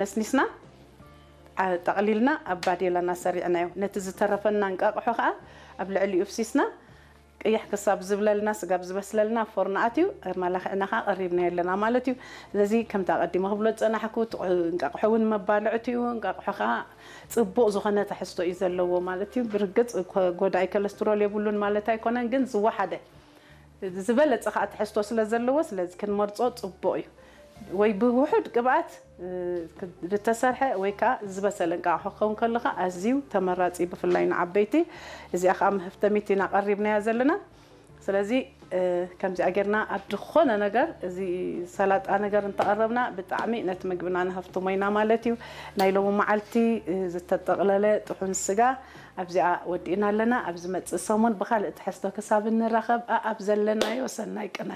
ነስኒስና ጠቕሊልና ኣብ ባዴላና ሰሪዕናዮ። ነቲ ዝተረፈና እንቃቕሖ ከዓ ኣብ ልዕሊኡ ፍሲስና ቅይሕ ክሳብ ዝብለልና፣ ስጋብ ዝበስለልና ፎርኖ ኣትዩ፣ ኣማላኺዕና ከዓ ቀሪብናዮ ኣለና ማለት እዩ። ስለዚ ከምቲ ኣቐዲመ ክብሎ ዝጸናሕኩ፣ እንቃቕሖ እውን መባልዕቲ እዩ። እንቃቕሖ ከዓ ጽቡቕ ዝኾነ ትሕዝቶ እዩ ዘለዎ ማለት እዩ። ብርግጽ ጎዳኢ ኮለስትሮል የብሉን ማለት ኣይኮነን፣ ግን ዝወሓደ ዝበለጸ ከዓ ትሕዝቶ ስለ ዘለዎ፣ ስለዚ ክንመርጾ ጽቡቕ እዩ። ወይ ብውሑድ ቅብኣት ዝተሰርሐ ወይ ከዓ ዝበሰለ እንቃቕሖ ክኸውን ከለኻ ኣዝዩ ተመራጺ፣ ብፍላይ ንዓበይቲ። እዚኣ ከዓ መህፍተሚት ኢና ቀሪብናያ ዘለና። ስለዚ ከምዚኣ ጌርና ኣብ ዝኾነ ነገር፣ እዚ ሰላጣ ነገር እንተቐረብና ብጣዕሚ ነቲ ምግብና ንሃፍትሞ ኢና ማለት እዩ። ናይ ሎሚ መዓልቲ ዝተጠቕለለ ጥሑን ስጋ ኣብዚኣ ወዲእና ኣለና። ኣብ ዝመጽእ ሰሙን ብኻልእ ትሕዝቶ ክሳብ እንራኸብ፣ ኣኣብ ዘለናዮ ሰናይ ቅነ።